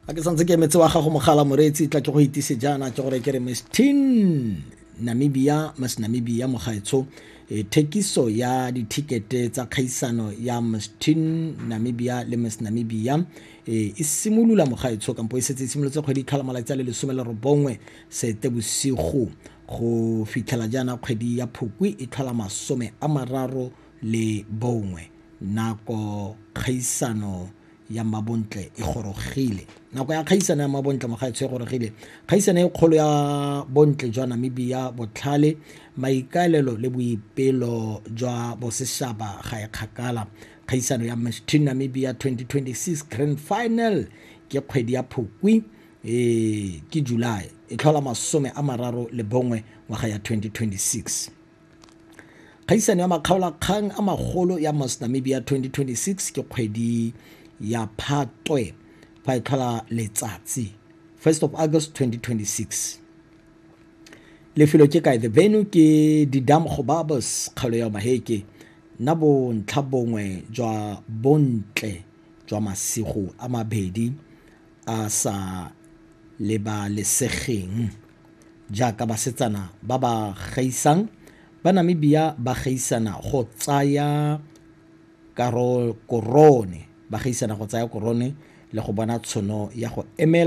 Ga ke santse ke emetse wa gago mogala, moreetsi, tla ke go itise jaana, ke gore ke re Miss Teen Namibia, Miss Namibia mogaetsho, thekiso ya dithikete tsa kgaisano ya Miss Teen Namibia le Miss Namibia e simolola mogaetsho, kampo e setse e simolotse kgwedi tlhola malatsi a le 19 Seetebosigo go fitlhela jaana kgwedi ya Phukwi e tlhola 31. Nako kgaisano ya mabontle e gorogile, nako ya kgaisano ya mabontle mogaetsho e gorogile. Kgaisano e kgolo ya bontle jwa Namibia, botlhale, maikaelelo le boipelo jwa bosešaba ga e kgakala. Kgaisano ya Miss Teen Namibia 2026 Grand Final ke kgwedi ya Phukwi, ke July e tlhola 31 ngwaga ya 2026. Kgaisano ya makgaolakgang a magolo ya Miss Namibia 2026 ke kgwedi ya Phatwe fa e tlhola letsatsi 1st of August 2026. Lefelo ke kae? The venue ke Didam Gobabis, kgaolo ya Maheke. Nna bontlha bongwe jwa bontle jwa masigo a mabedi a sa lebalesegeng jaaka basetsana ba ba gaisang ba Namibia ba gaisana go tsaya korone, ba gaisana go tsaya korone le go bona tshono ya go emela